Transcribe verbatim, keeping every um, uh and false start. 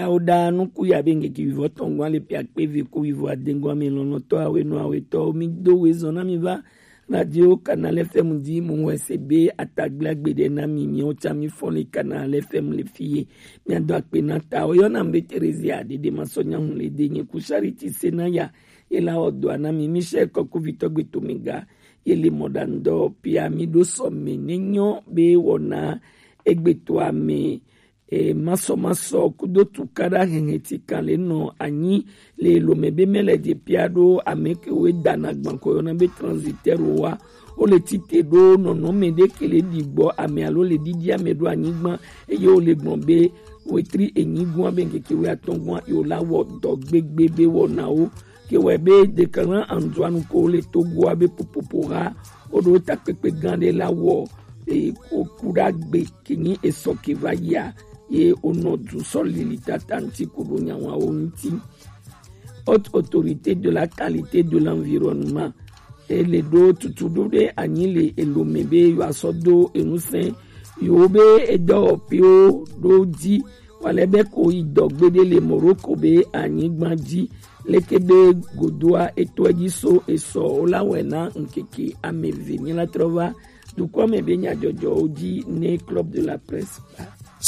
Yawo ɖa nuku ya be ŋkeke wivɔ tɔn gɔn ale pia kpe ve ko wivɔ adengɔn ame lɔlɔtɔ awe nɔ awe tɔ mi do we zɔn na mi va radio Canal F M di mu wɛ se be atagble agbe ɖe na mi mi o tsa mi fɔn le Canal F M le fi ye. Mi ado akpe na ta o yɔ na mi be Theresia ɖeɖe ma sɔ nya hun le de nye ku Charity se na ya ye la wɔ dɔa na mi Michel kɔkuvitɔ gbe to mi ga ye le mɔ ɖa ŋdɔ pia mi ɖo sɔ me ne nyɔ be wɔna egbe to ame e, masɔmasɔ kudo tukaɖa hɛhɛ ti kan le nɔ anyi le lome be mɛ le dze pia ɖo ame ke wo dana gbankɔ yɔna be transitaire wa wo le tite ɖo nɔnɔme ɖe ke le ɖi gbɔ ame alo le ɖiɖi ame ɖo anyigba eye wo le gblɔ be wetri enyi gɔn be ŋkeke wo atɔn gɔn yo la wɔ dɔ gbegbe be wɔnawo ke wɔ be Declan Antoine ko le Togoa be popopo ha wo ɖo takpekpe gã ɖe la wɔ e, o ku ɖa gbe ke nyi esɔ ke va yia ye o nɔ du sɔ lili tata ŋti ku ɖo nyawawo ŋti. Haute autorité de la qualité de l'environnement e le ɖo tutu ɖo ɖe anyi le elome be yo asɔ do enusɛn yo be edɔwɔpiwo ɖo dzi wale be ko yi dɔ gbeɖe le Morocco be anyigba dzi leke be godoa etɔe dzi so esɔ wo la wɛ na ŋkeke ame ve mi la trɔ va dukɔ me be nyadzɔdzɔwo dzi ne Club de la Presse ba.